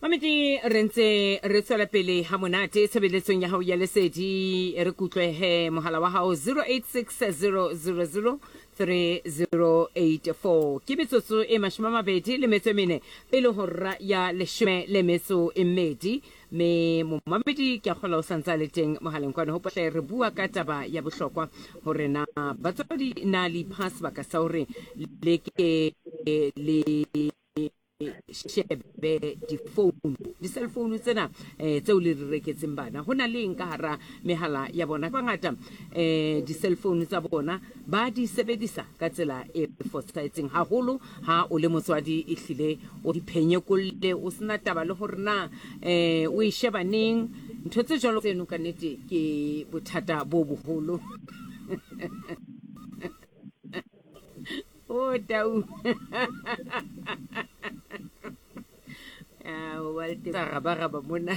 Mamedi re ntse re tswela pele ha monate tshebeletsong ya hao ya lesedi re kutlwehe mohala wa hao 086000 3084 ke metsotso e 24 pele hora ya leshome le metso e mmedi me momamedi ke a kgola o santse a le teng mohaleng kwane hopotle re bua ka taba ya bohlokwa hore na batswadi na le ipha sebaka sa hore le ke le shebe difounu di-cell phone tsena um tseo le di reketseng bana ho na le eng ka hara mehala ya bona bangata um di-cell phone tsa bona ba di sebedisa ka tsela e fosahetseng haholo ha o le motswadi e hlile o di phenyekolle o sena taba le gore na um o e sheba neng ntho tse jalo tseno ka nnete ke bothata bo boholo o tau rabaraba mona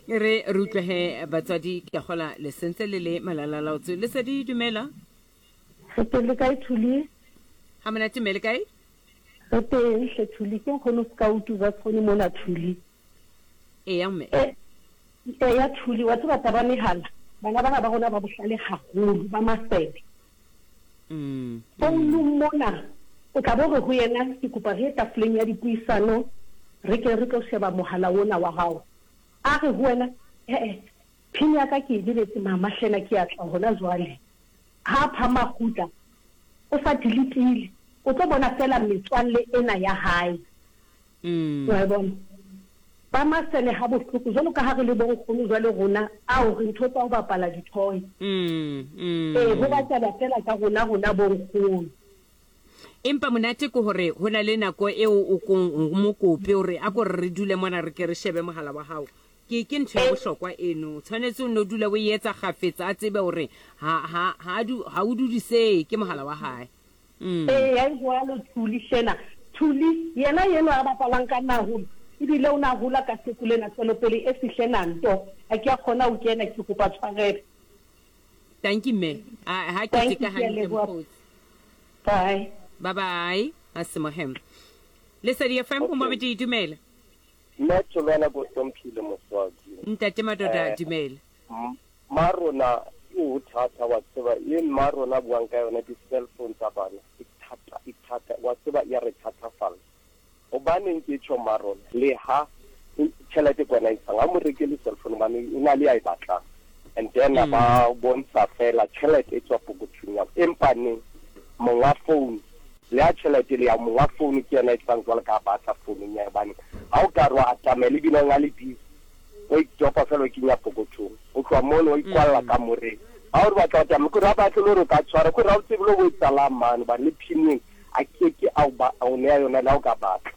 re re utlwege batswadi ke gola le sentse le le malalalaotse le sa di dumela Re teng le kae Thuli? Ha monate mme le kae? Re teng hle Thuli, ke nkgono Skautu ba tshone mona Thuli. Eya mme. E, eya Thuli, wa tseba taba mehala, bana bana ba rona ba bohlale haholo, ba masene. Founung mona, o tla bo re ho yena, ke kopa re ye tafoleng ya dipuisano, re ke re tlo sheba mohala ona wa hao. A re ho wena, he-e, pin ya ka ke e lebetse mama hlena ke a tla hona jwale. Ha a phama a kgutla, o sa deletile, o tlo bona feela metswalle ena ya hae. Wa e bona? Ba masene ha bohloko, jwalo ka ha re le bo nkgono jwale rona, ao, re ntho tsa ho bapala di-toy. Ee, ho bapalwa feela ka rona, rona bo nkgono. Empa monate ke hore ho na le nako eo o kong o mo kope hore a ko re re dule mona re ke re shebe mohala wa hao. Ke ke ntho ya bohlokwa eno. O tshwanetse o nno dule o e etsa kgafetsa a tsebe hore ha ha ha du ha o dudisehe ke mohala wa hae. Mm. Eya e jwalo Thuli hlena. Thuli yena yenwa a bapalang ka nna haholo ebile o na hola ka seko lena tswelopele e fihle na nto ha ke a kgona ho kena ke kopa tshwarelo. Tanki mme. A ha ke teka hantle mokgotsi. Bye. Bye bye. Asemohem. Lesedi FM o mabedi dumela. Mme Tholwana ko hlomphile moswaki. Ntate Madoda dumela. Mma rona o thata wa tseba e mma rona buang ka yona di cell phone tsa bana e thata e thata wa tseba ya re thatafalla. Hobaneng ke tjho mma rona leha tjhelete ke wena e ntshang ha mo rekele cell phone hobane o na le ya e batlang and then ba bontsha fela tjhelete e tswa pokothong ya empa neng monga phone le ha tjhelete le ya monga phone ke yena e tlang jwalo ka batla founung ya hobane ha o ka re wa atamela ebile o nga le busy o itopa fela o kenya pokothong o tloha mono o ikwalla kamoreng ha o re batla ho tsamaya kore ha batle le hore o ka tshwara kore ha o tsebe le ho etsalang mane hobane le pin-eng a ke ke a o neya yona le ha o ka batla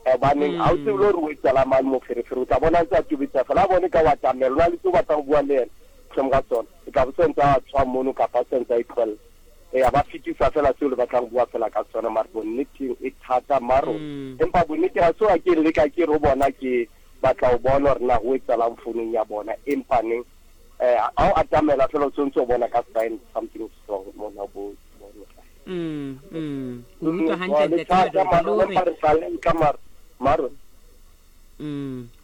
hobaneng ha o tsebe le hore o etsalang mane moferefere o tla bona a ntse a tobetsa fela a bone ka o atamela o na le se o batlang ho bua le yena mohlomong ka tsona o tla bo se ntse a tshwa mono kapa a se ntse a itlohella eya ba fetisa fela seo le batlang bua fela ka tsona mare bonneteng e thata maro empa bonnete ha so a ke leka ke re ho bona ke batla ho bona hore na ho etsahalang founung ya bona empa neng ha o atamela fela o tshwanetse o bona ka sign something is wrong mona bo Mm, mm. Ke utlwa hantle ntate Madoda le hore re tla leka mara maro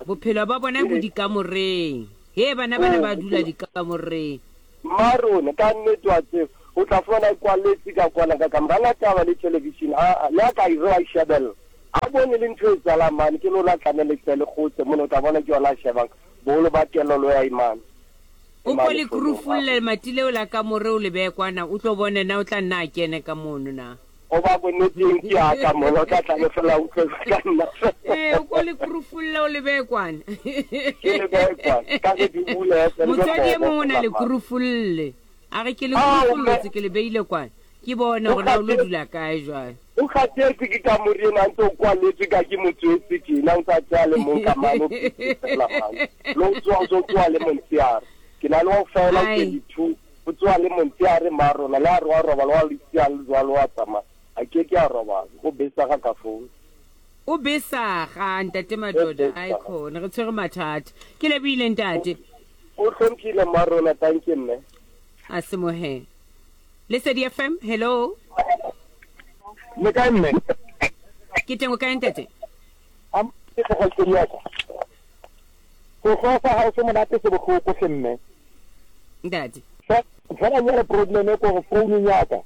Bophelo ba bona bo dikamoreng. He bana bana ba dula dikamoreng. Mmarone ka nnete wa tseba o tla fumana e kwaletse ka kwana ka kamora na taba le television a le a ka ire wa shebella a bone le ntho e tsalang mane ke lona tlamele tle le kgotse mona o tla bona ke yona a shebang boholo ba kelelo ya imane O ko le kurufulle lemati leo la kamore o le beye kwana o tlo bone na o tla nna a kene ka mono na. O ba bonneteng ke ya ka mona o tla tla le fela utlwe ka nna. Eh o ko le kurufulle o le beye kwana. Ke le beye kwana ka ge di bule Motswadi e mongwe o na le kurufulle. A re ke le kurufullotse ke le beile kwana. Ke bone gore na o lo dula kae jwale. O kgathetse ke kamore ena ntse o kwaletswe ka ke motswetse tjena o ntse a tseya le mong ka mane o fela mane le o tsoa o tso tsoa le montsheare ke na le wa fela o 22 o tsoa le montsheare ma rona le a re wa robala wa le le jwalo wa tsamaya a ke ke a robala o besaga ka phone O besaga ntate Madoda ai khona re tshwere mathata ke lebohile ntate. O hlomphile mma rona thank you mme. A semohe. Lesedi FM, hello. Le kae mme? Ke teng o kae ntate? A ke kgaitsedi ya ka. Sehloho sa hao se monate se bohloko hle mme. Ntate. Fela jwale problem e kore founung ya ka.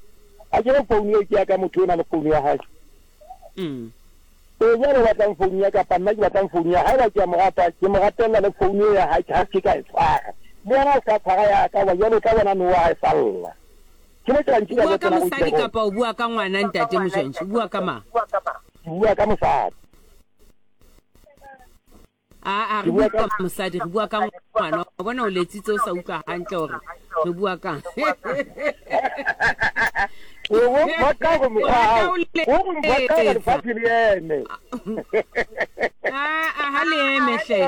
A ke re founu eo ke ya ka motho o na le founu ya hae. Mm. Ee jwale o batlang founu ya kapa nna ke batlang founu ya haeba ke a mo rata ke mo ratella le founu eo ya hae ha ke ka e tshwara. Le yena a se ka tshwara ya ka hoba jwale o tla bona nowa ha e salla. Ke mo O bua ka mosadi kapa o bua ka ngwana ntate Mojantshi? O bua ka mang? Ke bua ka mosadi. Aa, re bua ka mosadi, re bua ka ngwana. O bona o letsitse o sa utlwa hantle hore re bua kang. O mphoqa gore mokgwa wa hao, o re mphoqa gore lefatshe le eme. Aa, ha le eme hle.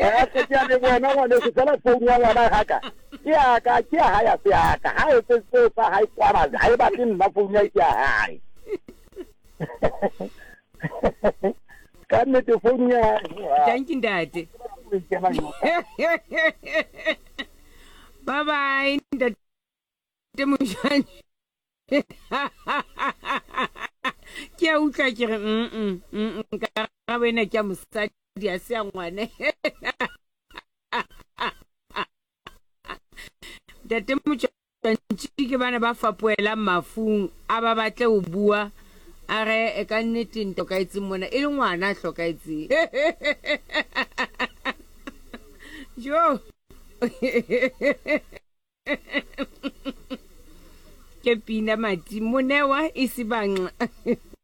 A ke a leboha wena ngwaneso, fela founu ya ngwana ga ka. Ke ya ka, ke ya hae, ha se ya ka. Ha etse seo sa hae kwana, ha e batle nna founu ya ke ya hae. Ka nnete founu ya hae. Thank you ntate. Bye bye ntate Mojane. Ke a utlwa ke re mm mm karabo ena ke ya mosadi a se ya ngwana. Ntate Motšwantši ke bana ba fapoelang mafung a ba batle ho bua a re e ka nnete nto hlokaetseng mona e le ngwana a hlokaetseng jo ke pina mati monewa e se banxa.